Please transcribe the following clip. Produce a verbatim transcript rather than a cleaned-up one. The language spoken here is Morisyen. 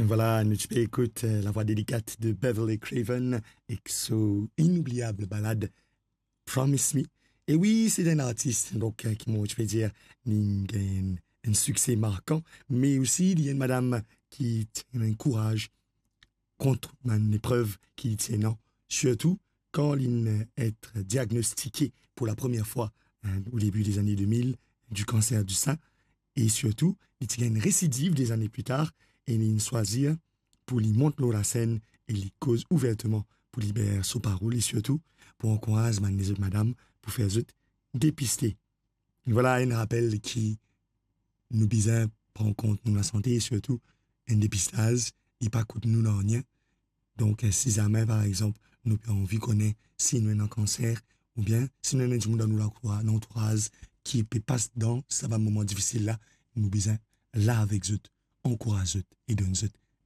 Vwala, nou ti pe ekout, eh, lavwa delikat de Beverly Craven ek so inoubliab balad Promise Me. E wi, se enn artis, donk, eh, ki mo ti pe dir, li gagn enn sikse markan, me osi li enn madam ki ti ena enn kouraz kont bann leprev ki li ti ena, sirtou kan li inn et diagnostike pou la première fois, eh, au début des années deux mille, du cancer du sein. E sirtou, li ti gagn residiv dé zane pli tar e li swazir pou li mont lor lasenn e li koz ouverteman pou liber so parol e sirtou pou ankouraz bann lezot madam pou fer zot depiste. Vwala enn rapel ki nou bizin pran kont nou lasante e sirtou enn depistaz, li pa kout nou nanye. Donk, eh, si zame, par exanp, nou pe anvi kone si nou ena kanser, oubien si nou ena dimoun dan nou lakrwa, lantouraz ki pe pas dan sa bann moman difisil la, nou bizin la avek zot, ankouraz zot e donn zot